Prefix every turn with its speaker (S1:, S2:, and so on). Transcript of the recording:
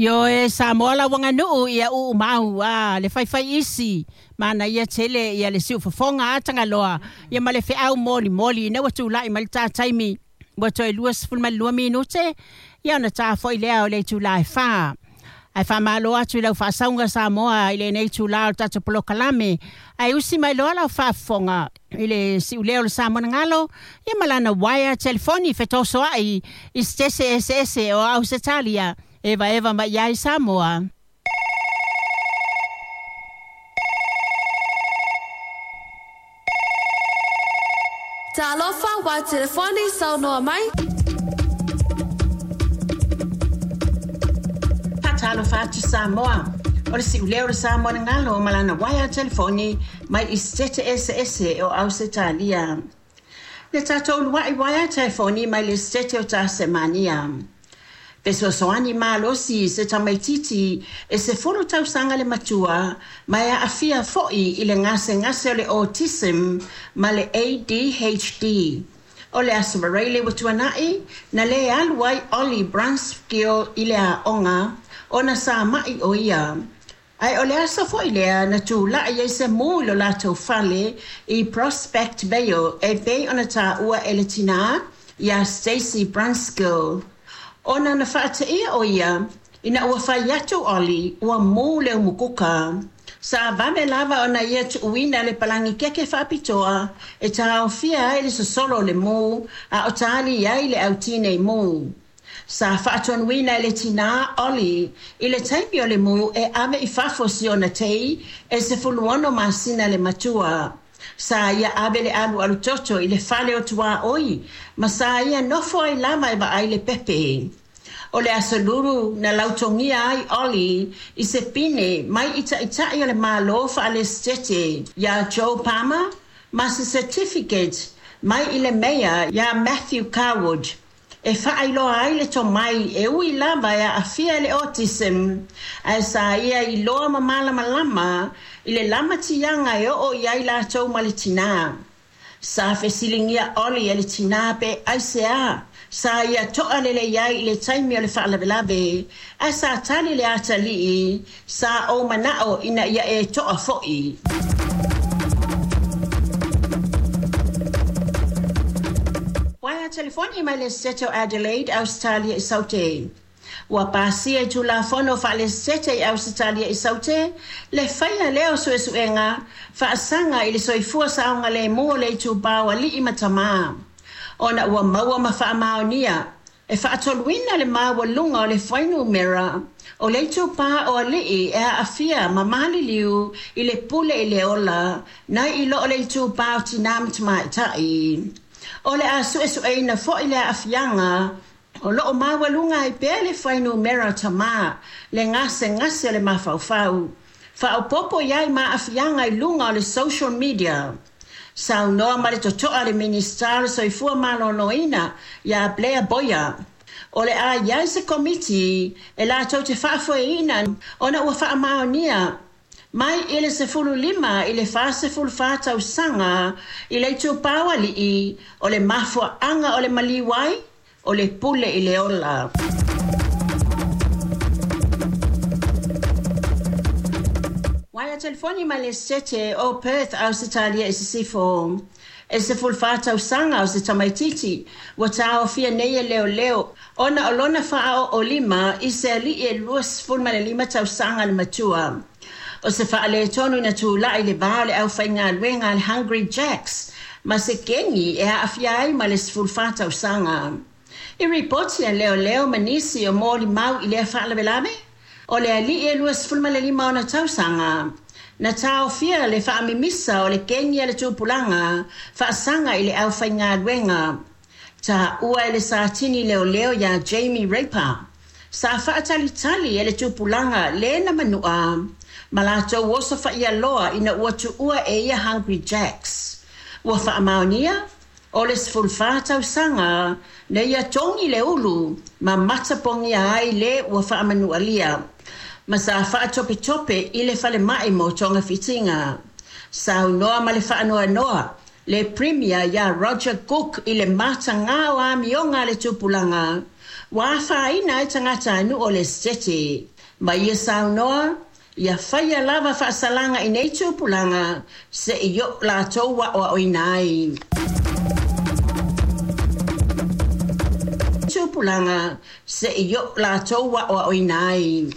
S1: Ioe, Samoa lau aganuu ia uumau a le faifai isi manaia tele ia le siufofoga a Tagaloa ia ma le feau molimoli ina ua tulai mai le ta taimi ua toe 22 minute ia ona ta foi lea o le itula e 4. Ae faamalo atu i lau faasauga Samoa i lenei itula o le tatou polokalame, ae usi mai loa lau faafofoga i le siuleo o le Samoa ia ma lana uaea telefoni fetosoai i se eseese o Ausetalia evaeva mai ai Samoa.
S2: Talofa wa telefoni saunoa mai.
S1: Faatalofa atu Samoa. O le siuleo o le Samoa na galo ma lana uaea telefoni mai i Setete eseese o Ausetalia. Le tatou uluai uaea telefoni mai le Setete o Tasemania. Fesoasoani malosi se tamaititi e 10 tausaga le matua ma e aafia foi i le gasegase o le autism ma le ADHD. O le Aso Faraile ua tuanai na lē alu ai Ollie Brunskill i le aoga ona sa ma'i o ia. Ae o le aso foi lea na tula'i ai se mū i lo latou fale i Prospect Vale e pei ona taua e le tinā iā Stacey Brunskill. Ona na faateia o ia ina ua fai atu Ollie ua mū le umukuka. Sa vave lava ona ia tuuina le palagi keke faapitoa e taofia ai le sosolo o le mū a o tali ai le autinei mū. Sa faatonuina e le tinā Ollie i le taimi o le mū e ave i fafo si ona tei e 16 masina le matua. Sa ia ave le alualu toto i le fale o tuaoi ma sa ia nofo ai lava e vaai le pepe. O le Aso Lulu na lautogia ai Ollie i se pine mai i ta'ita'i o le Malo faalesitete iā Joe Palmer ma se certificate mai i le meia iā Matthew Carwood e faailoa ai le tomai e ui lava e aafia i le autism ae sa ia iloa ma malamalama i le lamatiaga e oo i ai latou ma le tinā. Sa fesiligia Ollie e le tinā pe aiseā sa ia to'a lelei ai i le taimi o le faalavelave ae sa tali le atalii sa ou mana'o ina ia e to'a fo'i. Uaea telefoni mai le Setete o Adelaide, Ausetalia i Saute. Ua pasia i Tulafono faalesitete i Ausetalia i Saute le faia lea o suesuega faasaga i le soifua saogalemu o le itupa o alii ma tamā. Ona ua maua ma faamaonia e faatoluina le maualuga o le fuainumera o le itupa o alii e aafia ma maliliu i le pule i le ola nai i lo o le itupa o tinā ma tamaitai. O le a suesueina foi le aafiaga o loo maualuga ai pea le fuainumera o tamā le gasegase o le mafaufau. Faaopoopo i ai ma aafiaga i luga o le social media. Saunoa ma le totoa le Minisita o le Soifua Maloloina iā Blair Boyer. O le a i ai se komiti e latou te faafoeina ona ua faamaonia mai i le 15 i le 44 tausaga i le itupa o alii o le mafuaaga o le maliu ai o le pule i le ola. Uaea telefoni mai le Setete o Perth, Ausetalia i Sisifo. E 14 tausaga o se tamaititi ua taofia nei e leoleo ona o lona faaooolima i se alii e 25 tausaga le matua. O se faaletonu na tula'i i le va o le aufaigaluega a le Hungry Jacks ma se kegi e aafia ai ma le 14 tausaga. I ripoti a leoleo ma nisi o molimau i lea faalavelave, o le alii e 25 ona tausaga na taofia le faamimisa o le kegi a le tupulaga faasaga i le aufaigaluega. Taua e le satini leoleo iā Jamie Raper. Sa faatalitali e le tupulaga le na manua ma latou oso faaialoa ina ua tuua e ia Hungry Jacks. Ua faamaonia o le 14 tausaga na ia togi le ulu ma matapogia ai le ua faamanualia. Ma sa faatopetope i le falemai mo togafitiga. Saunoa ma le faanoanoa le Premier iā Roger Cook i le matagā o amioga a le tupulaga ua afaina ai tagatanuu o le Setete. Ma ia saunoa, ia faia lava faasalaga i nei tupulaga se'i oo latou aoaoina ai. Tupulaga se'i oo latou aoaoina ai.